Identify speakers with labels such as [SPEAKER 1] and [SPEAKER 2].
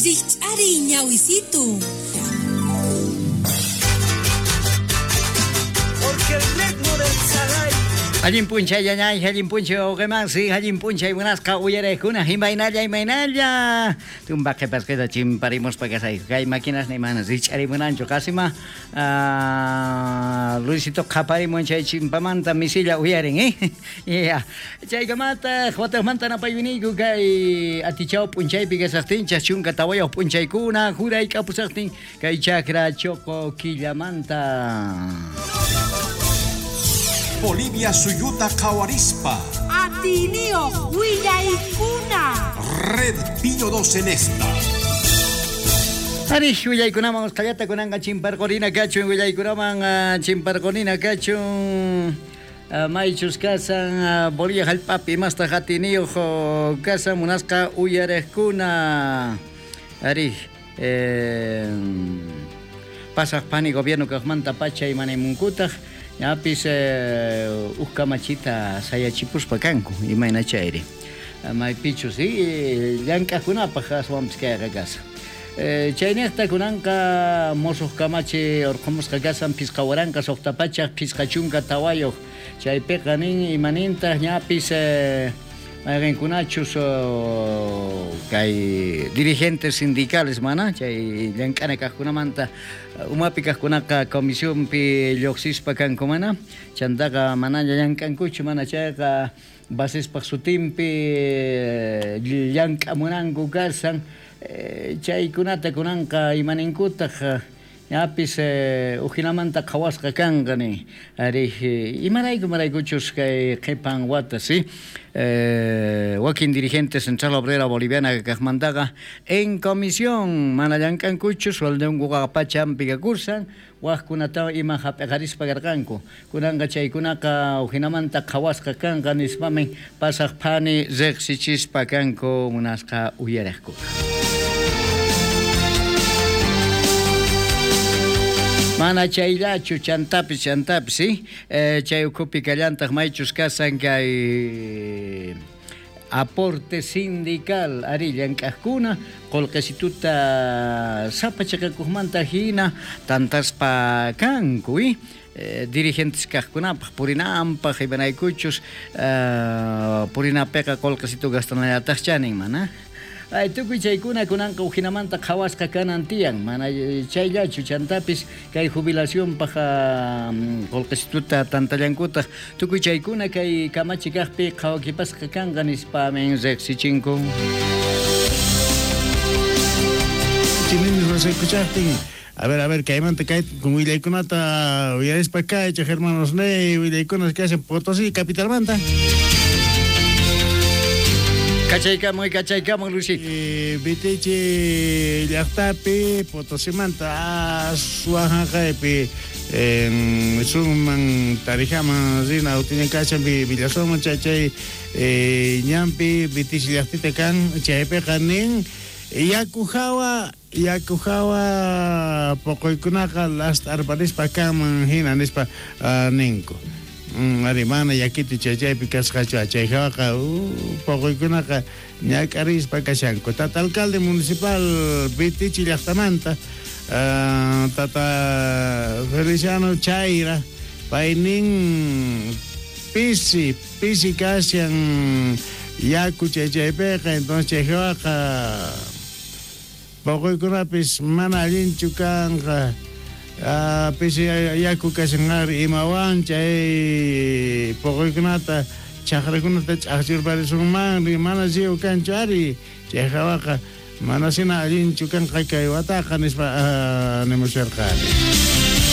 [SPEAKER 1] Rikch'ariy ñawisitu.
[SPEAKER 2] Porque el ritmo del Saray.
[SPEAKER 3] Allin p'unchay ñañay, allin p'unchay wawqimansi, allin p'unchay munasqa uyariqkuna, imaynalla, imaynalla. Tumpa qhipasqita chimparimuspa kasayku. Kay maquinas ni mana rich'arimunanchu, qasima Luisito qhaparimun chay chimpamanta misilla uyarin, eh? Yeah. Chaykamataq wataqmanta napaywiniyku kay atichaw p'unchaypi kasaqtinchaq 14 p'unchaykuna jurayk'apusaqtin kay chakra choqo killamanta.
[SPEAKER 4] Bolivia suyuta qhawarispa.
[SPEAKER 1] Atiniyoj willaykuna.
[SPEAKER 4] Red Pío 2 en esta.
[SPEAKER 3] Ari, willaykunaman usqhayllata kunanqa chimparqurina kachun, willaykunaman chimparqurina kachun. Maychus kasan Bolivia jallp'api imastaq atiniyoj kasan munasqa uyariqkuna. Ari, pasaq pani gobierno kaqmanta pacha imanaymunkutaq, ñapis uj kamachita sayachipuspa kanku, imayna chayri. Maypichus, llank'aqkunapaq aswanpis kayqa kasan. Chaynejta kunanqa mosuq kamachi urqhumusqa kasan 5654 chaypiqa nin imanintaq ñapis mayqinkunachus kay dirigentes sindicales mana chay llank'ana kaqkunamanta umapi kaqkunaqa comisionpi lluqsispa kanku mana chantaqa manaña llank'ankuchu mana chayqa basespaq sutinpi llank'amunanku kasan. Chaykunata kunanqa imaninkutaq ñapis ujinamanta qhawasqa kanqa nin. Ari, imarayku imaraykuchus kay qhipan wata, sí? Wakin dirigente Central Obrera Boliviana kaqmantaqa en comisión mana llank'ankuchu sueldonkuqa pachampi kakursan wajkunata ima hap'iqarispa karqanku. Kunanqa chaykunaqa ujinamanta qhawasqa kanqa nispamin pasaq phani riqsichispa kanku munasqa uyariqkuna. Mana chayllachu chantapis chantapis, ¿sí? Chay ukhupi kallantaq maychus kasan kay aporte sindical ari llank'aqkuna qullqisituta sapa chiqakuqmanta hina tantaspa kanku, ¿eh? Dirigentes kaqkunapaq purinanpaq imanaykuchus purinapiqa qullqisitu gastanallataq chanin mana. Ay, tukuy chaykuna kunanqa ujinamanta qhawasqa kanan tiyan, mana chayllachu chantapis kay jubilacionpaq qullqisituta tantallankutaq tukuy chaykuna kay kamachi kaqpi qhawakipasqa kanqa nispamin riqsichinku.
[SPEAKER 5] A ver, kaymanta kay willaykunata uyarispa kaychej hermanos ne willaykunas kashan Potosí capitalmanta.
[SPEAKER 3] Kachaykamuy, kachaykamuy, Luisito.
[SPEAKER 5] Vitichi llaqtapi Potosimanta aswanjaqaypi sunman Tarijaman rina utiñan kashan Villasoman chay ñanpi Vitichi llaqtita kan chaypiqa nin yaku hawa poqoykunaqa last'arparispa kanman hina nispa ninku. Ari mana yakiti chaychaypi kasqachu chay hawaqa poqoykunaqa ñak'arispa kashanku. Tata alcalde municipal Vitichi llaqtamanta tata Feliciano Chaira paynin pisi kashan yaku chaychaypiqa entonces chay hawaqa poqoykunapis mana allinchu kanqa. Pisi yaku kashan ari imawan chay poqoykunata chaqrakunata ch'aqchurparisunmanri mana riw kanchu ari chay hawaqa mana sina allinchu kanqa kay wataqa nispa nimusharqani.